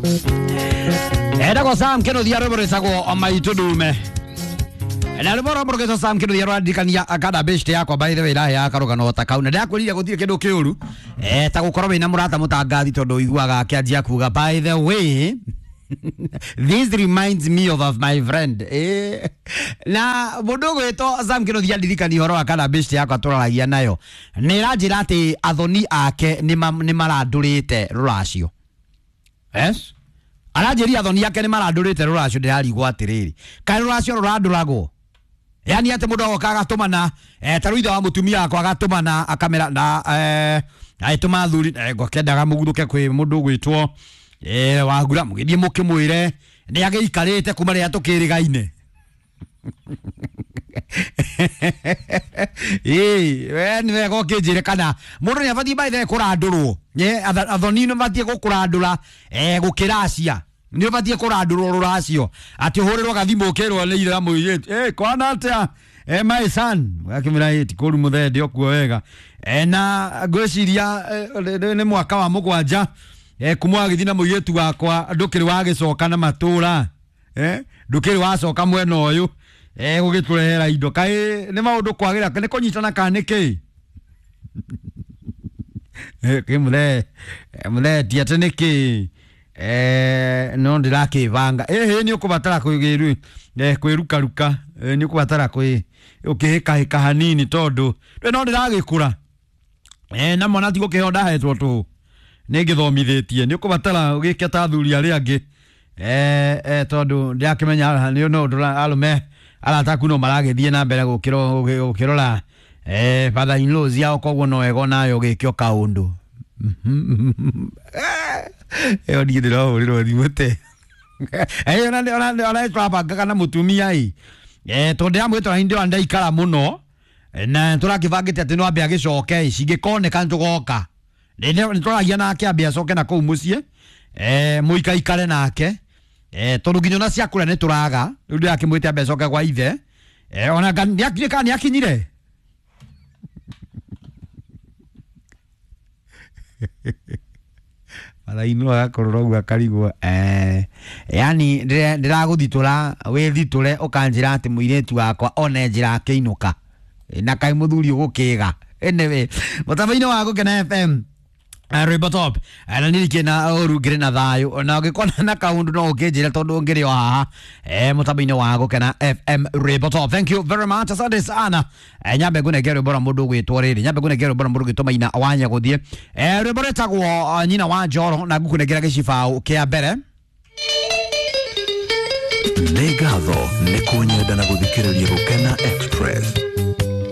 Etagwo Sam Kĩnuthia, rwĩmbo rwĩtagwo Maitũ Ndume. Na rwĩmbo rwa mũrũgĩtwo Sam Kĩnuthia rũrandirikania kana best yakwa, by the way, iraheaga karũgano ta kau. Na ndĩrakwĩrire gũtirĩ kĩndũ kĩũru ta gũkorwo wĩna mũrata mũtangathi, tondũ ũiguaga akĩanjia kuga, "By the way, this reminds me of my friend." Na mũndũ ũgwĩtwo Sam Kĩnuthia ndirikania ũhoro wa kana best yakwa tũraragia nayo, nĩ ĩranjĩra atĩ athoni ake nĩ marandũrĩte rũracio. Yes, aranjĩria athoni ake nĩ marandũrĩte rũracio. Ndĩrarigwo atĩrĩrĩ, kaĩ rũracio rũrandũragwo? Yani atĩ mũndũ agoka agatũmana, ta rĩu ithe wa mũtumia wakwa agatũmana akamera na agĩtũma athuri, ngwakendaga mũguthũke kwĩ mũndũ ũgwĩtwo Wagura, mũgĩthiĩ mũkĩmwĩre nĩ agĩikarĩte kuma rĩrĩa tũkĩrĩgaine. Ĩĩ, we nĩ wega ũkĩnjĩre kana mũndũ nĩ abatiĩ, by the way, kũrandũrwo. Athoni nĩ batiĩ gũkũrandũra gũkĩracia, nĩ ũbatiĩ kũrandũrwo rũracio, atĩ ũhũrĩrwo gathimũ ũkĩrwo nĩ ithe wa mũirĩtu, "Kwana atĩa, my son?" Akĩmwĩra, "Ti kũru mũthee, ndĩ okuo wega." Na ngwĩciria nĩ mwaka wa 7 kuma wagĩthiĩ na mũirĩtu wakwa, ndũkĩrĩ wagĩcoka na matũra, ndũkĩrĩ wacoka mwena ũyũ gũgĩtũrehera indo. Kaĩ nĩ maũndũ kwagĩra, nĩ kũnyitana kana nĩ kĩĩ?" Kĩ mũthee, mũthee, ti atĩ nĩ kĩĩ, no ndĩrakĩbanga. Ĩhĩ, nĩ ũkũbatara kwĩrukaruka, nĩ ũkũbatara kwĩ ũkĩhĩkahĩka hanini, tondũ no ndĩragĩkũra, na mwana ti gũkĩheo ndahetwo tũhũ, nĩ ngĩthomithĩtie. Nĩ ũkũbatara ũgĩke ta athuri arĩa angĩ, tondũ ndĩrakĩmenya nĩ no arũme arata aku no maragĩthiĩ na mbere gũkĩrora father in laws yao, koguo no wega onawe ũgĩke o kaũndũ. Ĩyo niĩ ndĩrahũrĩrwo thimũ te ona tũrabangaga na mũtumia ĩ, tondũ ndĩramwĩtwara hĩndĩ ĩyo ndaikara mũno, na tũrakĩbangĩte atĩ no ambe agĩcoke, cingĩkoneka nĩ tũgoka. Nĩ tũragia nake ambe acoke na kũu mũciĩ, mũikaikare nake, tondũ nginya ona cia kũrĩa nĩ tũraga. Rĩu ndĩrakĩmwĩte ambe acoke gwa ithe, ona nĩ kana nĩ akinyire. Mathainũ agakorwo ũguo akarigwo, yani ndĩragũthitũra wĩthitũre, ũkanjĩra atĩ mũirĩtu wakwa one njĩra akĩinũka. Na kaĩ mũthuri ũgũkĩga. Anyway, mũtambo-inĩ wa Gũkena FM, rwĩmbo top, na ndirikĩ na ũru, ngĩrĩ na thayũ, na ũngĩkona na kaũndũ no ũkĩnjĩre, tondũ ngĩrĩ o haha mũtambo-inĩ wa Gũkena FM, rwĩmbo top. Thank you very much, asante sana. Nyambe ngũnengere rwĩmbo rwa mũndũ ũgwĩtwo rĩrĩ, nyambe ngũnengere rwĩmbo rwa mũndũ ũgwĩtwo Maina wa Nyagũthiĩ, rwĩmbo rwĩtagwo Nyina wa Njoro, na ngũkũnengera gĩcibaũ kĩa mbere. Nĩ ngatho nĩ kũnyenda na gũthikĩrĩria Gũkena Express.